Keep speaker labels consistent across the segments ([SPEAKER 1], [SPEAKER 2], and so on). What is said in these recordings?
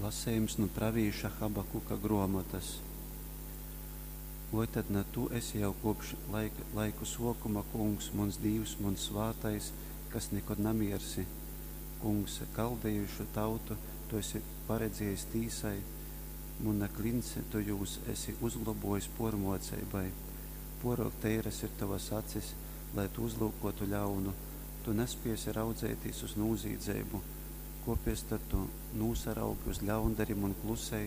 [SPEAKER 1] Lasejums nu pravīša Habakuka gruomotas. Voi tad na tu esi jau kopš laika, laiku suokuma, Kungs, muns Dīvs, muns svātais, kas nikod namiersi? Kungs, kaldejišu tautu tu esi paredziejis tīsai, muna kliņts tu jūs esi uzglobōjis pōrmōceibai. Pōrōk teiras ir tovas acis, lai tu uzlyukōtu ļaunu, tu naspēsi raudzeitīs uz nūzīdzeibu. Kōpēc tad tu nūsaraugi uz ļaundarim un klusej,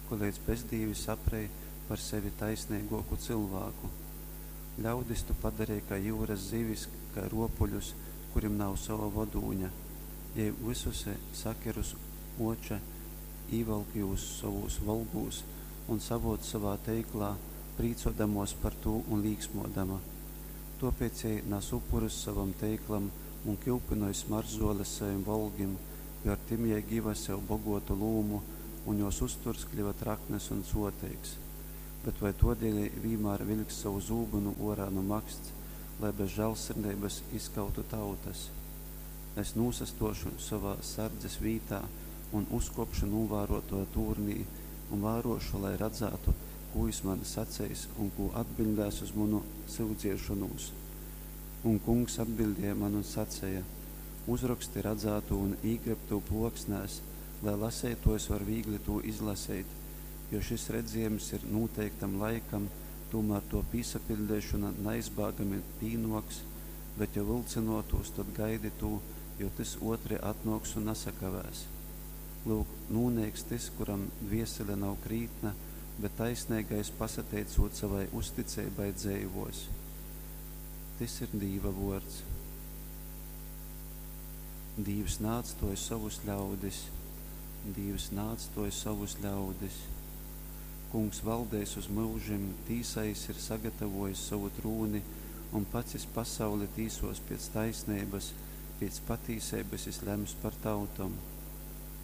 [SPEAKER 1] koleidz bezdīvi saprej par sevi taisneigōku cylvāku? Ļaudis tu padareji kai jyuras zivis, kai rōpuļus, kurim nav sova vodūņa. Jei vysus saker uz ōča, īvalk jūs sovūs volgūs un savōc sovā teiklā, prīcōdamōs par tū un līksmōdama. Tōpēc jei nas upurus sovam teiklam un kyupynoj smaržzōles sovim volgim, jo ar tim jei giva sev bogōtu lūmu, un jōs uzturs kļyva traknys un sōteigs. Bet voi tōdēļ jei vīnmār viļks sovu zūbynu ōrā nu maksts, lai bez žāļsirdeibas izkautu tautas? Es nūsastōšu sovā sardzes vītā un uzkōpšu nūvārōtōja tūrnī un vārōšu, lai radzātu, kū jys man saceis un kū atbiļdēs uz munu syudziešonūs. Un Kungs atbiļdēja man un saceja, Uzroksti radzātū un īgreb tū plōksnēs, lai laseitōjs var vīgli tū izlaseit, jo šys redzējums ir nūteiktam laikam, tūmār tō pīsapiļdeišona naizbāgami pīnōks, bet jo vylcynōtūs, tod gaidi tū, jo tys ōtri atnōks un nasakavēs. Lyuk, nūneiks tys, kuram dviesele nav krītna, bet taisneigais, pasateicūt sovai uzticeibai, dzeivōs. Tys ir Dīva vōrds. Dīvs naatstōj sovus ļaudis. Dīvs naatstōj sovus ļaudis. Kungs valdeis uz myužim, tīsai jys ir sagatavōjis sovu trūni, un pats jys pasauli tīsōs pēc taisneibas, pēc patīseibas jys lems par tautom.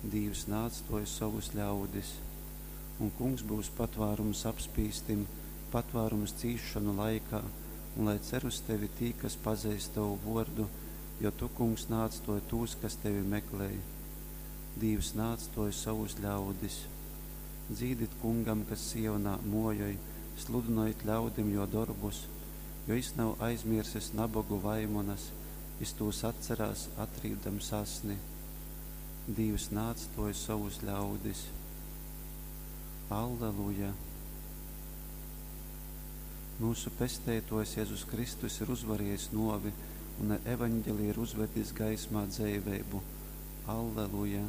[SPEAKER 1] Dīvs naatstōj sovus ļaudis. Un Kungs byus patvārums apspīstim, patvārums cīsšonu laikā, un lai cer uz tevi tī, kas pazeist tovu vōrdu, jo tu, Kungs, naatstōj tūs, kas tevi meklej. Dīvs naatstōj sovus ļaudis. Dzīdit Kungam, kas Sionā mōjoj, sludynojit ļaudim jō dorbus, jo jys nav aizmiersis nabogu vaimanas, jys tūs atcerās, atrībdams asni. Dīvs naatstōj sovus ļaudis. Alleluja! Myusu Pesteitōjs Jezus Kristus ir uzvarējis nōvi un ar Evaņgeliju ir uzvedis gaismā dzeiveibu. Alleluja!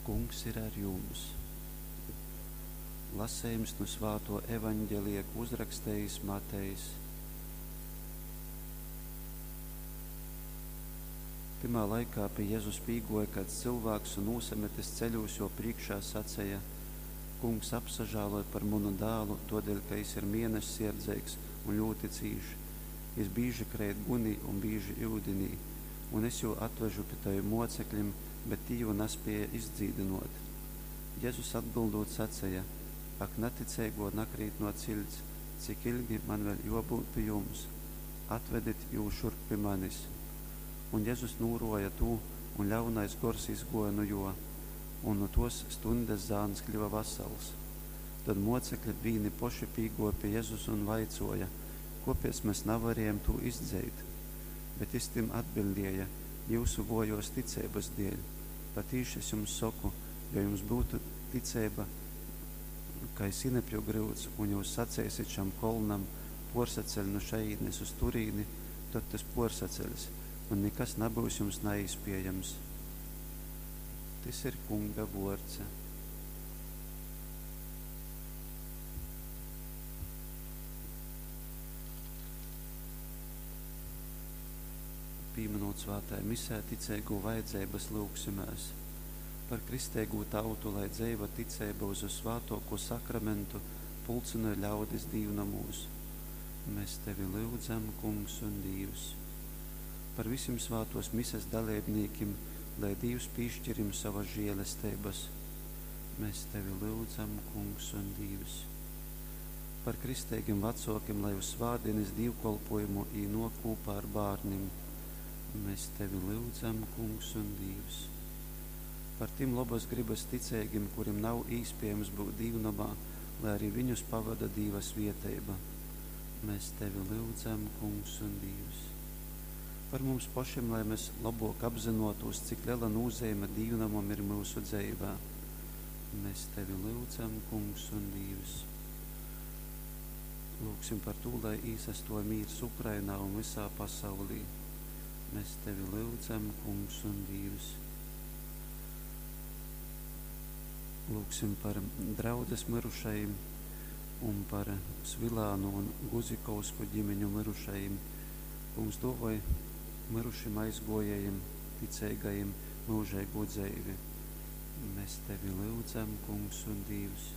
[SPEAKER 1] Kungs ir ar jums! Lasejums nu svātō Evaņgelija, kū uzrakstejis Matejs. Tymā laikā pi Jezus pīgōja kaids cylvāks un, nūsametis ceļūs jō prīškā, saceja, Kungs, apsažāloj par munu dālu, tōdēļ ka jys ir mēnessierdzeigs un ļūti cīš. Jys bīži kreit gunī un bīži yudinī. Un es jū atvežu pi tovim mōceklim, bet tī jū naspēja izdzīdynōt. Jezus atbyldūt saceja, Ak, naticeigō, nakrītnō ciļts, cik ilgi man vēļ jōbyut pi jums? Atvedit jū šurp pi manis. Un Jezus nūrōja tū, un ļaunais gors izgōja nu jō. Un nu tōs stuņdes zāns kļyva vasals. Tod mōcekli vīni poši pīgōja pi Jezus un vaicōja, Kōpēc mes navarējam tū izdzeit? Bet jys tim atbiļdēja, Jyusu vōjōs ticeibas dēļ. Patīši es jums soku, jo jums byutu ticeiba kai sinepju gryuds, un jyus saceisit šam kolnam, Pōrsaceļ nu šajīnes uz turīni, tod tys pōrsaceļs, un nikas nabyus jums naīspējams. Tys ir Kunga vōrds. Pīmynūt svātajā Misē ticeigū vajadzeibas, lyugsimēs. Par kristeigū tautu, lai dzeiva ticeiba uz Vyssvātōkū Sakramentu pulcynoj ļaudis dīvnomūs. Mes Tevi lyudzam, Kungs un Dīvs. Par vysim svātōs Mises daleibnīkim, lai Dīvs pīškir jim sovas žēlesteibas. Mes Tevi lyudzam, Kungs un Dīvs. Par kristeigim vacuokim, lai uz svātdīnis dīvkolpuojumu jī nuok kūpā ar bārnim. Mēs tevi lyudzam, Kungs un Dīvs. Par tim lobas grybas ticeigim, kurim nav īspiejams byut dīvnomā, lai arī viņus pavoda Dīva svieteiba. Mēs tevi lyudzam, Kungs un Dīvs. Par mums pošim, lai mēs lobuok apzynuotūs, cik lela nūzeime dīvnomam ir myusu dzeivē. Mēs tevi lyudzam, Kungs un Dīvs. Lūgsim par tū, lai īsastuoj mīrs Ukrainā un vysā pasaulī. Mēs tevi lyudzam, Kungs un Dīvs. Lūgsim par draudzes myrušajim un par Svilānu un Guzikovsku ģimeņu myrušajim. Kungs duovoj myrušim aizguojējim, ticeigajim myužeigū dzeivi. Mēs tevi lyudzam, Kungs un Dīvs.